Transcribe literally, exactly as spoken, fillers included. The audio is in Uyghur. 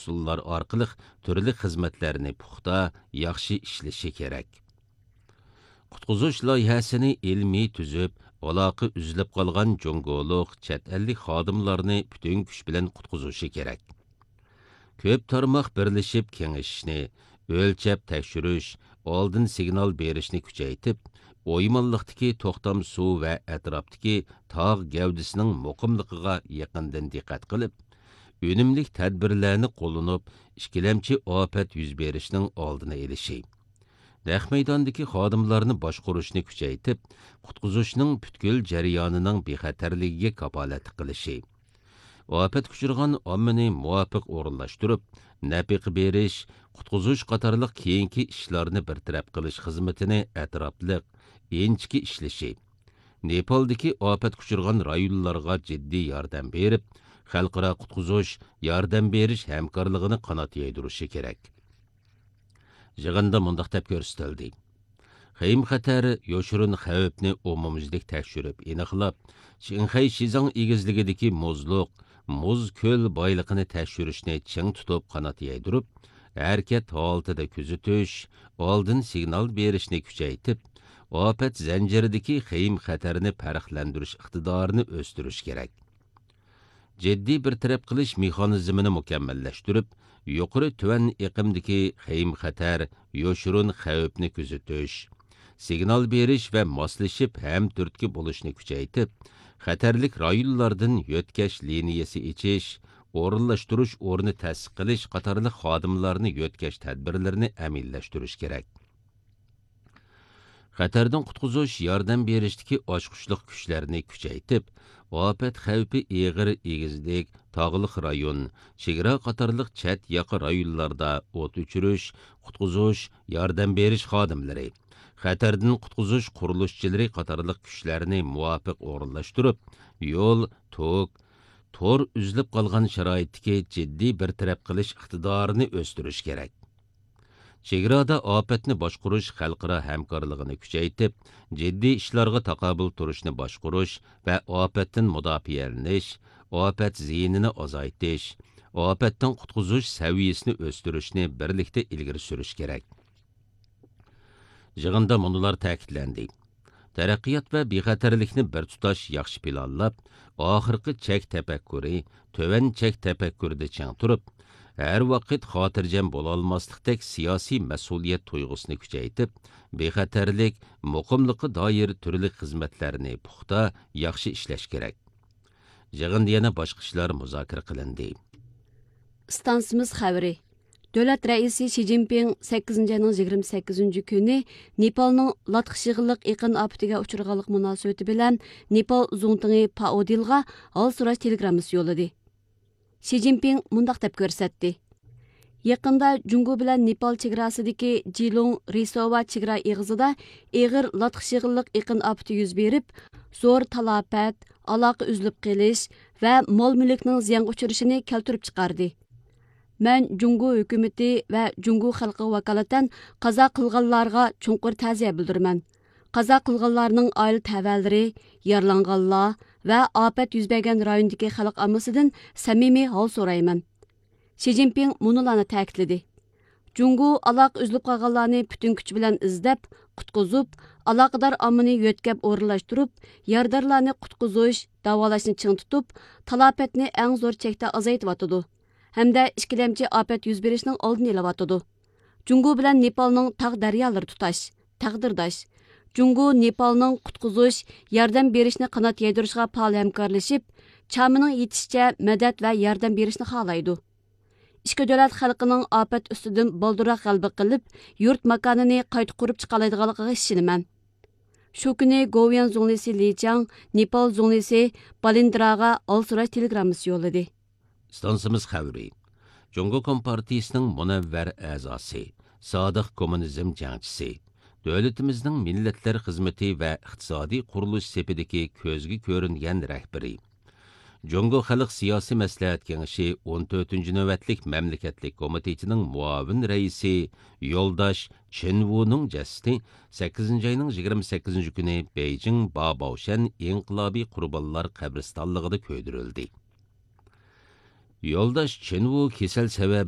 ئۇسۇللار ئارقىلىق تۈرلۈك خىزمەتلەرنى پۇختا، ياخشى ئىشلىشى كېرەك. قۇتقۇزۇش لايىھەسىنى ئىلمىي تۈزۈپ، ئالاقە ئۈزۈلۈپ قالغان جۇڭگولۇق، چەت ئەللىك خادىملارنى پۈتۈن كۈچ بىلەن قۇتقۇزۇشى كېرەك. كۆپ تارماق بىرلىشىپ كېڭىشىشنى، ئۆلچەپ تەكشۈرۈش، ئالدىن سىگنال بېرىشنى كۈچەيتىپ، ئويمانلىقتىكى توختام سۇ ۋە ئەتراپتىكى تاغ گەۋدىسىنىڭ مۇقىملىقىغا يېقىندىن دىققەت قىلىپ، ئۈنۈملۈك تەدبىرلەرنى قوللىنىپ، ئىككىلەمچى ئاپەت يۈز بېرىشنىڭ ئالدىنى ئېلىشى، نەق مەيداندىكى خادىملارنى باشقۇرۇشنى كۈچەيتىپ، قۇتقۇزۇشنىڭ پۈتكۈل جەريانىنىڭ بىخەتەرلىكىگە كاپالەتلىك قىلىشى، ئاپەتكە ئۇچرىغان ئاممىنى مۇۋاپىق ئورۇنلاشتۇرۇپ، نەپىقە بېرىش، قۇتقۇزۇش قاتارلىق كېيىنكى ئىشلارنى بىر تەرەپ قىلىش خىزمىتىنى ئەتراپلىق، ئىنچىكە ئىشلىشى، نېپالدىكى ئاپەتكە ئۇچرىغان رايونلارغا جىددىي ياردەم بېرىپ، خەلقئارا قۇتقۇزۇش، ياردەم بېرىش ھەمكارلىقىنى قانات يايدۇرۇشى كېرەك. يىغىندا مۇنداق دەپ كۆرسىتىلدى: خېيىم خەتەر يوشۇرۇن خەۋپنى ئومۇميۈزلۈك تەكشۈرۈپ ئېنىقلاپ، چىڭخەي شىزاڭ ئېگىزلىكىدىكى مۇزلۇق، مۇز كۆل بايلىقىنى تەكشۈرۈشنى چىڭ تۇتۇپ قانات يايدۇرۇپ، ھەرىكەت ھالىتىدە كۆزىتىش، ئالدىن سىگنال بېرىشنى كۈچەيتىپ، ئاپەت زەنجىرىدىكى خېيىم خەتەرنى پەرقلەندۈرۈش ئىقتىدارىنى ئۆستۈرۈش كېرەك. جىددىي بىر تەرەپ قىلىش مېخانىزمىنى مۇكەممەللەشتۈرۈپ، يۇقىرى تۆۋەن ئېقىمدىكى خېيىم خەتەر، يوشۇرۇن خەۋپنى كۆزىتىش، سىگنال بېرىش ۋە ماسلىشىپ ھەم تۈرتكە بولۇشنى كۈچەيتىپ، خەتەرلىك رايونلاردىن يۆتكەش لىنىيەسى ئېچىش، ئورۇنلاشتۇرۇش ئورنى تەسىس قىلىش قاتارلىق خادىملارنى يۆتكەش تەدبىرلىرىنى ئەمەلىيلەشتۈرۈش كېرەك. خەتەردىن قۇتقۇزۇش، ياردەم بېرىشتىكى ئاچقۇچلۇق كۈچلەرنى كۈچەيتىپ، ئاپەت خەۋپى ئېغىر ئېگىزلىك، تاغلىق رايون، چېگرا قاتارلىق چەت ياقا رايونلاردا ئوت ئۆچۈرۈش، قۇتقۇزۇش، ياردەم بېرىش خادىملىرى، خەتەردىن قۇتقۇزۇش قۇرۇلۇشچىلىرى قاتارلىق كۈچلەرنى مۇۋاپىق ئورۇنلاشتۇرۇپ، يول، توك، تور ئۈزۈلۈپ قالغان شارائىتتىكى جىددىي بىر تەرەپ قىلىش ئىقتىدارىنى ئۆستۈرۈش كېرەك. چېگرادا ئاپەتنى باشقۇرۇش خەلقئارا ھەمكارلىقىنى كۈچەيتىپ، جىددىي ئىشلارغا تاقابىل تۇرۇشنى باشقۇرۇش ۋە ئاپەتتىن مۇداپىئەلىنىش، ئاپەت زىيىنىنى ئازايتىش، ئاپەتتىن قۇتقۇزۇش سەۋىيەسىنى ئۆستۈرۈشنى بىرلىكتە ئىلگىرى سۈرۈش كېرەك. يىغىندا مۇنۇلار تەكىتلەندى: تەرەققىيات ۋە بىخەتەرلىكنى بىر تۇتاش ياخشى پىلانلاپ، ئاخىرقى چەك تەپەككۇرى، تۆۋەن چەك تەپەككۇرىدا چىڭ تۇرۇپ، ھەر ۋاقىت خاتىرجەم بولالماسلىقتەك سىياسىي مەسئۇلىيەت تۇيغۇسىنى كۈچەيتىپ، بىخەتەرلىك، مۇقىملىققا دائىر تۈرلۈك خىزمەتلەرنى پۇختا، ياخشى ئىشلەش كېرەك. يىغىندا يەنە باشقا ئىشلار مۇزاكىرە قىلىندى. ئىستانسىمىز خەۋىرى. دۆلەت رەئىسى شى جىنپىڭ سەككىزىنچى ئاينىڭ يىگىرمە سەككىزىنچى كۈنى نېپالنىڭ لاتخى شىغىللىق ئېقىن ئاپىتىگە ئۇچرىغانلىق مۇناسىۋىتى بىلەن نېپال زۇڭتۇڭى پائودىلغا ھال سوراش تېلېگراممىسى يوللىدى. شى جىنپىڭ مۇنداق دەپ كۆرسەتتى: يېقىندا جۇڭگو بىلەن نېپال چېگراسىدىكى جىلۇڭ رىسوۋا چېگرا ئېغىزىدا ئېغىر لاتخى شىغىللىق ئېقىن ئاپىتى يۈز بېرىپ، زور تالاپەت، ئالاقە ئۈزۈلۈپ قېلىش ۋە مال مۈلۈكنىڭ زىيانغا ئۇچرىشىنى كەلتۈرۈپ چىقاردى. مەن جۇڭگو ھۆكۈمىتى ۋە جۇڭگو خەلقىگە ۋاكالىتەن قازا قىلغانلارغا چوڭقۇر تەزىيە بىلدۈرىمەن. قازا قىلغانلارنىڭ ئائىلە تەۋەلىرى، يارىلانغانلار ۋە ئاپەت يۈز بەرگەن رايوندىكى خەلق ئاممىسىدىن سەمىمىي ھال سورايمەن. شى جىنپىڭ مۇنۇلارنى تەكىتلىدى: جۇڭگو ئالاقە ئۈزۈلۈپ قالغانلارنى پۈتۈن كۈچى بىلەن ئىزدەپ، قۇتقۇزۇپ، ئالاقىدار ئاممىنى يۆتكەپ ئورۇنلاشتۇرۇپ، يارىدارلارنى قۇتقۇزۇش، داۋالاشنى چىڭ تۇتۇپ، تالاپەتنى ئەڭ زور چەكتە ئازايتىۋاتىدۇ ھەمدە ئىككىلەمچى ئاپەت يۈز بېرىشنىڭ ئالدىنى ئېلىۋاتىدۇ. جۇڭگو بىلەن نېپالنىڭ تاغ دەريالىرى تۇتاش، تەقدىرداش. جۇڭگو نېپالنىڭ قۇتقۇزۇش، ياردەم بېرىشنى قانات يايدۇرۇشىغا پائال ھەمكارلىشىپ، چامىنىڭ يېتىشىچە مەدەت ۋە ياردەم بېرىشنى خالايدۇ. ئىككى دۆلەت خەلقىنىڭ ئاپەت ئۈستىدىن بالدۇرراق غەلىبە قىلىپ، يۇرت ماكانىنى قايتا قۇرۇپ چىقالايدىغانلىقىغا ئىشىنىمەن. شۇ كۈنى گوۋۇيۈەن زۇڭلىسى لى چياڭ نېپال زۇڭلىسى بالىندىراغا ھال سوراش تېلېگراممىسى يوللىدى. ئىستانسىمىز خەۋىرى. جۇڭگو كومپارتىيىسىنىڭ مۇنەۋۋەر ئەزاسى، سادىق كوممۇنىزم جەڭچىسى، دۆلىتىمىزنىڭ مىللەتلەر خىزمىتى ۋە ئىقتىسادىي قۇرۇلۇش سېپىدىكى كۆزگە كۆرۈنگەن رەھبىرى، جۇڭگو خەلق سىياسىي مەسلىھەت كېڭىشى ئون تۆتىنچى نۆۋەتلىك مەملىكەتلىك كومىتېتىنىڭ مۇئاۋىن رەئىسى يولداش چېن ۋۇنىڭ جەسىتى سەككىزىنچى ئاينىڭ يىگىرمە سەككىزىنچى كۈنى بېيجىڭ باباۋشەن ئىنقىلابىي قۇربانلار قەبرىستانلىقىدا كۆيدۈرۈلدى. يولداش چېن ۋۇ كېسەل سەۋەبىدىن